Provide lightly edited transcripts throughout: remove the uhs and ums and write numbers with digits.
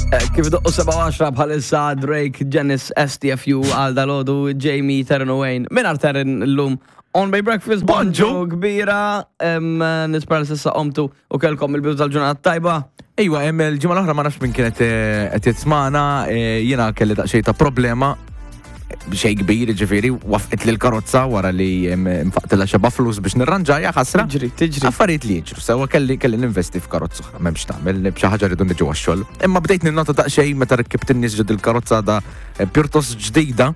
Eh, Kif doqqu 7 bħalissa Drake, Janice, STFU, għal dalodu, Jamie, Terren Wayne, minar Terren l-lum On Bay Breakfast, Bonġu. kbira, em, nispera li sissa qomtu u kelkom il-bidu tal-ġurnata tajba. Ejwa, hemm il-ġimgħa l-oħra ma nafx min kienet eh, qed jismana, eh, jiena kelli daqsxejn ta' problema xej kbir, ġifieri, wafqet lil karozza wara li nfaqtilha xeba flus biex nirranġaja ħasra. Tiġri, tiġri. Affarijiet li jiġru, sewa kelli kelli ninvesti f'karozza oħra, m'hemmx tagħmel, b'xi ħaġa rridu niġu għax-xogħol. Imma bdejt ninnota daqsxejn meta rkibt in-nies ġod il-karozza da eh, pjuttost ġdida.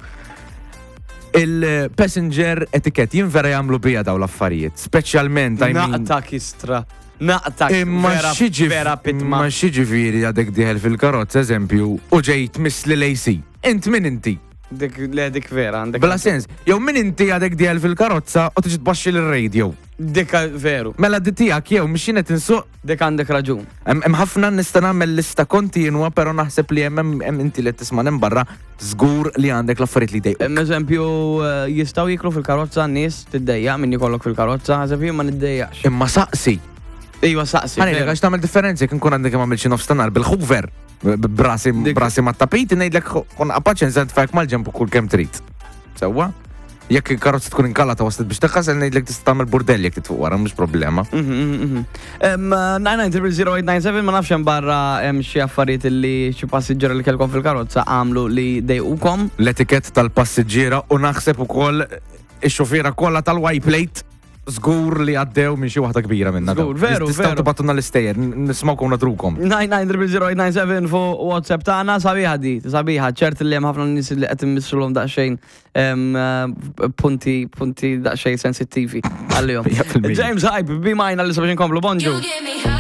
Il-passenger etiket jien vera jagħmlu bija daw l-affarijiet, speċjalment I mean, Naqta kistra. Naqta Imma vera, xiġi vera pitma. Ma xiġifieri għadek dieħel fil-karozza, eżempju, u ġejt misli l-AC. Int min inti? Dik, le, dik vera, għandek. Bla sens. Jew min inti għadek dieħel fil-karozza u tiġi tbaxxi l-radio. Dik veru. Mela di tiegħek jew mhix jien qed insuq. Dik għandek raġun. Hemm ħafna nista' nagħmel lista kontinwa, però naħseb li hemm hemm inti li qed tisma' hemm barra żgur li għandek l-affarijiet li jdejquk. Hemm eżempju eh, jistgħu jiklu fil-karozza n-nies tiddejjaq min jkollok fil-karozza, eżempju ma niddejjaqx. Imma saqsi. Iva saqsi. Ħa ngħidlek veru. għax tagħmel differenza jekk inkun għandek kemm għamilt xi nofs ta' nhar bil-hoover. Brasi brasi ma' tapit ngħidlek kun paċenza nitfajk mal-ġemp kull kemm trid. Sewwa? Jekk il-karozza tkun inkalata waslet biex teħħasel ngħidlek tista' tagħmel burdell jekk titfuq wara mhux problema. 9900897 ma nafx hemm barra hemm xi affarijiet li xi passiġġiera li kellkom fil-karozza għamlu li dejqukom. L-etikett tal-passiġġiera u naħseb ukoll ix-xufiera kollha tal-Y plate Żgur li għaddew minn xi waħda kbira minna. Żgur, veru, Tistgħu veru. tibatuna l-istejjer, nismawkom nadrukom. 9900897 fuq WhatsApp tagħna sabiħa di, sabiħa, ċert li hemm ħafna nies li qed immissulhom daqsxejn em, eh, punti punti daqsxejn sensittivi għalihom. 100%. James Hype, bi majna li sabiex inkomplu bonġu. You give me high.